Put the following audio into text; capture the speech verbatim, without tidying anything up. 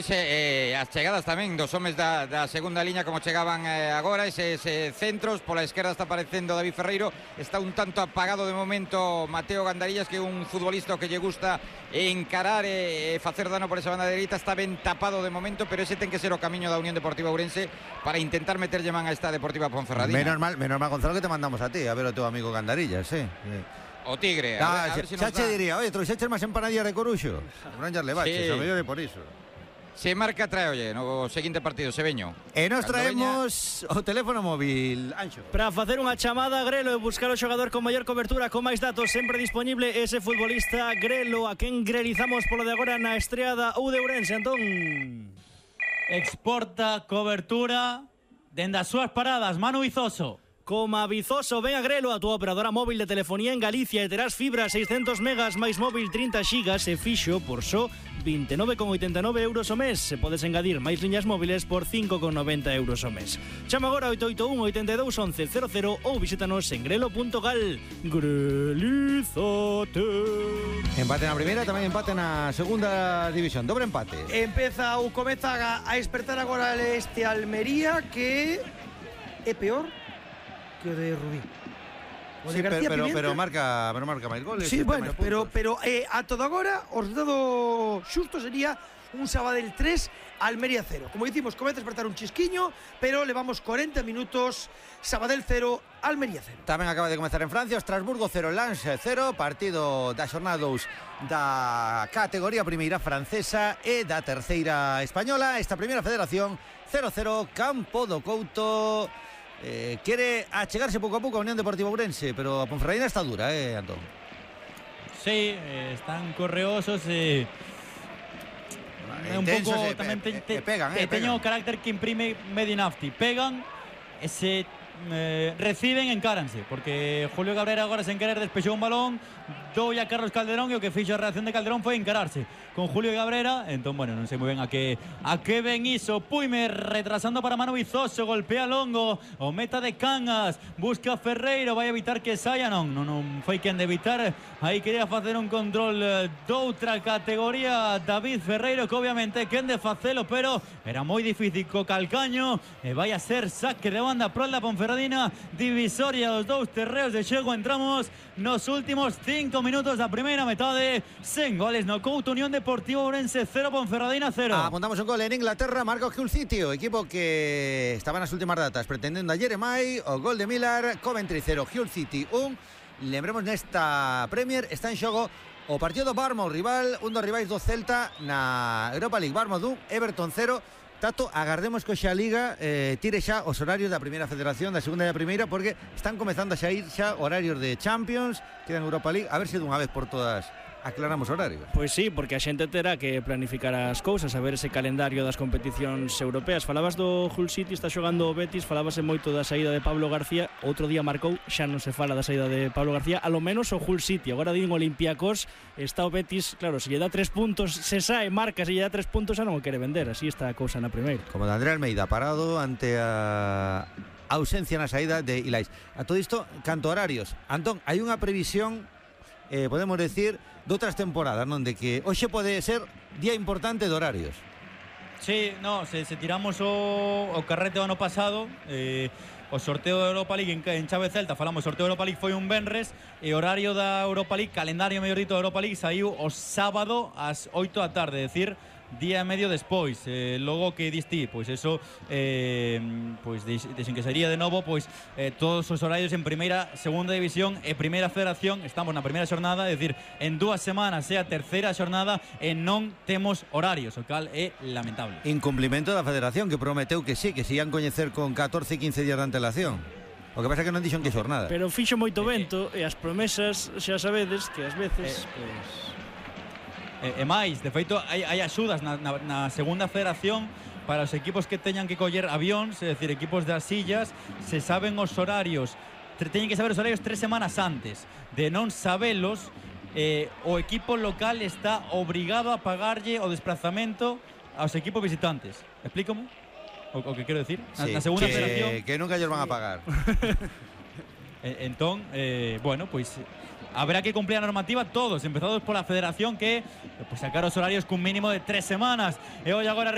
Eh, as chegadas tamén dos homes da, da segunda liña como chegaban eh, agora, eses eh, centros. Pola esquerda está aparecendo David Ferreiro, está un tanto apagado de momento Mateo Gandarillas, que é un futbolista que lle gusta encarar e eh, facer dano por esa banda dereita. Está ben tapado de momento, pero ese ten que ser o camiño da Unión Deportiva Ourense para intentar meterlle man a esta Deportiva Ponferradina. Menos mal, menos mal, Gonzalo, que te mandamos a ti a ver o teu amigo Gandarillas, sí. O Tigre, ah, a ver, a ver si xa nos che da. diría, oye, trouxeches máis empanadillas de Coruxo. Non llas levaches, Sí. o mellor é por iso. Se marca, trae, oye, no seguinte partido, Seveño. E nos Cando traemos veña... o teléfono móvil, Anxo. Para facer unha chamada a Grelo e buscar o xogador con maior cobertura, con máis datos, sempre disponible ese futbolista Grelo, a quen grelizamos polo de agora na estreada U de Ourense, Antón. Exporta cobertura dende as súas paradas, Manu Vizoso. Coma Vizoso, ven a Grelo, a túa operadora móvil de telefonía en Galicia, e terás fibra seiscentos megas máis móvil trinta xigas e fixo por só vinte e nove con oitenta e nove euros o mes. Se podes engadir máis liñas móviles por cinco con noventa euros o mes. Chama agora oito oito un, oito dous, once cero cero ou visítanos en grelo punto gal. Grelízate. Empate na primeira, tamén empate na segunda división. Dobre empate. Empeza ou comeza a, a despertar agora este Almería, que é peor que o de Rubí. O Sí, de García pero, pero, Pimienta. pero marca, pero marca máis goles. Sí, e ten bueno, máis pero, puntos. pero eh, a todo agora o resultado xusto sería un Sabadell tres, Almería cero. Como dicimos, comeza a despertar un chisquiño, pero levamos cuarenta minutos, Sabadell cero, Almería cero. Tamén acaba de comezar en Francia, Estrasburgo cero, Lens cero, partido da xornada dous da categoría primeira francesa e da terceira española. Esta primeira federación cero cero, Campo do Couto. Eh, quere achegarse pouco a pouco a Unión Deportiva Ourense, pero a Ponferradina está dura, eh, Antón. Sí, eh, están correosos e... Eh, un Intensos pouco e- tamén e- te, te, e pegan, te eh, teño pegan. o carácter que imprime Medinafti. Pegan e se eh, reciben, encáranse, porque Julio Cabrera agora sen querer despexou un balón, doulle a Carlos Calderón, e o que fixo a reacción de Calderón foi encararse con Julio Cabrera. Entón, bueno, non sei moi ben a que a que ven iso. Puime retrasando para Manu Vizoso, golpea longo, o meta de Cangas, busca Ferreiro, vai evitar que saia, non, non, non foi quen de evitar. Aí quería facer un control eh, doutra categoría David Ferreiro, que obviamente quen de facelo, pero era moi difícil co calcaño, e vai a ser saque de banda pro da Ponferradina, divisoria dos dous terreos de xogo. Entramos nos últimos cinco minutos da primeira metade, sen goles no Couto. Unión Deportiva Ourense cero, Ponferradina cero. Apuntamos un gol en Inglaterra, marca o Hull City, o equipo que estaba nas últimas datas pretendendo a Jeremai. O gol de Miller, Coventry cero, Hull City un. Lembremos, nesta Premier está en xogo o partido do Bournemouth, rival, un dos rivais do Celta na Europa League. Bournemouth un, Everton cero. Tato, agardemos que xa a Liga eh, tire xa os horarios da primeira federación, da segunda e da primeira, porque están comezando a xa ir xa horarios de Champions, quedan Europa League, a ver se dunha vez por todas aclaramos horarios. Pois sí, porque a xente terá que planificar as cousas, a ver ese calendario das competicións europeas. Falabas do Hull City, está xogando o Betis, falábase moito da saída de Pablo García, outro día marcou, xa non se fala da saída de Pablo García, a lo menos o Hull City. Agora din Olympiacos, está o Betis, claro, se lle dá tres puntos, se sae, marca, se lle dá tres puntos xa non o quere vender, así está a cousa na primeira. Como de André Almeida, parado ante a ausencia na saída de Ilais. A todo isto, canto horarios. Antón, hai unha previsión, eh, podemos decir, de outras temporadas, non? De que hoxe pode ser día importante de horarios. Sí, no, se, se tiramos o, o carrete do ano pasado, eh, o sorteo da Europa League en, en chave Celta, falamos, o sorteo da Europa League foi un venres, e horario da Europa League, calendario mellor dito da Europa League, saiu o sábado ás oito da tarde, é dicir, día e medio despois. Eh, logo que diste, pois eso, eh, pois dixen que sería de novo, pois eh, todos os horarios en primeira, segunda división e primeira federación. Estamos na primeira xornada, é dicir, en dúas semanas é a terceira xornada e non temos horarios, o cal é lamentable. Incumplimento da federación, que prometeu que sí, que se ian coñecer con catorce, quince días de antelación. O que pasa é que non dixon que xornada. Pero fixo moito vento e as promesas xa sabedes que ás veces, Eh, pois... E, e máis, de feito, hai, hai axudas na, na, na segunda federación para os equipos que teñan que coller avións, é dicir, equipos das sillas, se saben os horarios, teñen que saber os horarios tres semanas antes. De non sabelos, eh, o equipo local está obrigado a pagarlle o desplazamento aos equipos visitantes. Explícamo o, o que quero decir? Na, Sí, na segunda que, federación... que nunca ellos van a pagar. Entón, eh, bueno, pois habrá que cumplir a normativa todos, empezados por la federación, que pues sacar os horarios cun mínimo de tres semanas. E hoy agora